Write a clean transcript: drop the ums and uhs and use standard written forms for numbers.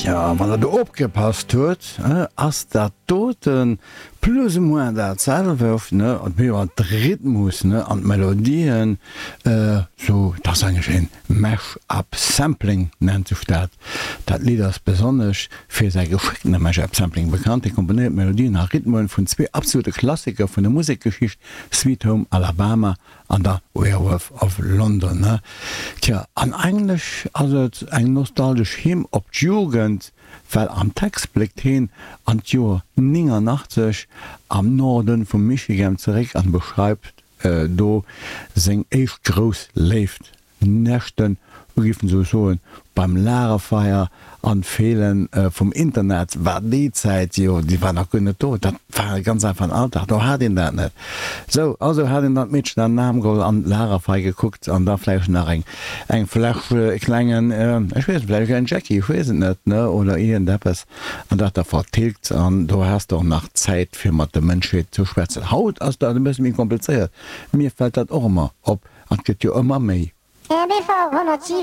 Tja, wann der do opgepasst huet, ass dat doten plus ou moins dat selwecht, ne? An jo, de Rhythmus, ne, an d'Melodien, sou, dat ass eigentlech een Mash-up Sampling nennt sech dat. Dat Lidd ass besonnesch fir säi geschéckte Mash-up Sampling bekannt. Hie komponéiert Melodien a Rhythmen vun zwee absolute Klassiker vun der Musekgeschicht, Sweet Home Alabama an der Werewolf of London. Tja, an eigentlech ass et eng nostalgesch Hymn op d'Jugend, well am Text bléckt heen an d'Joer 89 am Norden vum Michigan zeréck an beschreift do seng éischt grouss Léift. Nächten, hu giffen sou soen, beim Lagerfeier an d'Feelen vum Internet war déi Zäit jo, déi war nach guer net do, dat war e ganz einfachen Alldag, do hat een dat net. Sou, also hat een dann d'Meedchen an den Aarm geholl an d'Lagerfeier gekuckt an da vläicht nach eng eng Fläsch e klengen, ech weess net, vläicht e klengen Jackie, ech weess et net, ne, oder iergendeppes an dat da vertilgt an do has de och nach Zäit fir mat der Mënschheet ze schwätzen. Haut ass dat e bësse méi komplizéiert, mir fält dat och ëmmer op an et gëtt jo ëmmer méi. RBV 107.